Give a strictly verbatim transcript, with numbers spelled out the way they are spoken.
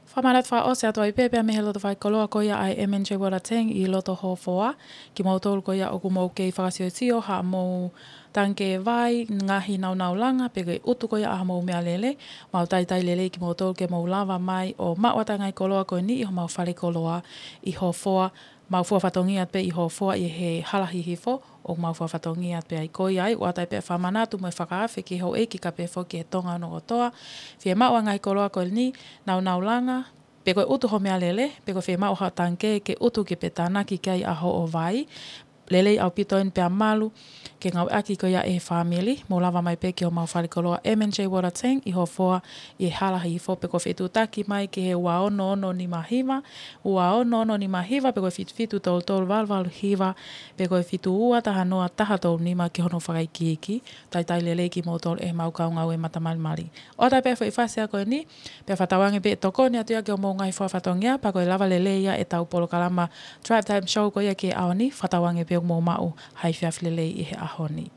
Fakamanatu fakaʻosi atu ai pē pea mei he loto faikoloa ko ia ʻa e M and J Water Tank ʻi loto Hofoa, kimoutolu ko ia ʻoku mou kei fakasiosio haʻamou tangikē vai, ngaahi nāunau langa, pe ko e ʻutu ko ia ʻa haʻamou meʻalele, mau talitali lelei kimoutolu ke mou lava mai ʻo maʻu atu ʻa e ngaahi koloa ko eni ʻi homau falekoloa ʻi Hofoa, mau fua fatongia pē ʻi Hofoa ʻi he hala hihifo, ʻoku mau fua fatongia pē ai. Ko ia ai, ʻoatu ai pē ʻa e fakamanatu mo e fakaafe ki he houʻeiki kae pehē foki ki he Tonga hono kotoa, fiemaʻu ʻa e ngaahi koloa ko eni, nāunau langa, pe ko e ʻutu ho meʻalele, pe ko e fiemaʻu ha tangikē ke ʻutu ki ai pe tānaki ki ai ʻa hoʻo vai, lelei ʻaupito eni pea malu ke ngāueʻaki ko ia ʻe he fāmili, mou lava mai pē ki homau falekoloa M and J Water Tank ʻi Hofoa ʻi he hala hihifo, pe ko e fetuʻutaki mai ki he ua ono ono nima hiva, ua ono ono nima hiva, pe ko e fitu fitu tolu tolu valu valu hiva, pe ko e fitu ua taha noa taha tolu nima ki hono fakaikiiki. Talitali lelei kimoutolu ʻe heʻemau kau ngāue matamalimali. ʻOatu ai pē foʻi fasi ko eni, pea fakatauange pē ʻe tokoni atu ia ki hoʻomou ngaahi fua fatongia, pea ko e lava lelei ia ʻetau polokalama Drive Time Show ko ia ki he ʻaho ni, fakatauange pē ʻoku mou maʻu ha efiafi lelei ʻi he ʻaho ni.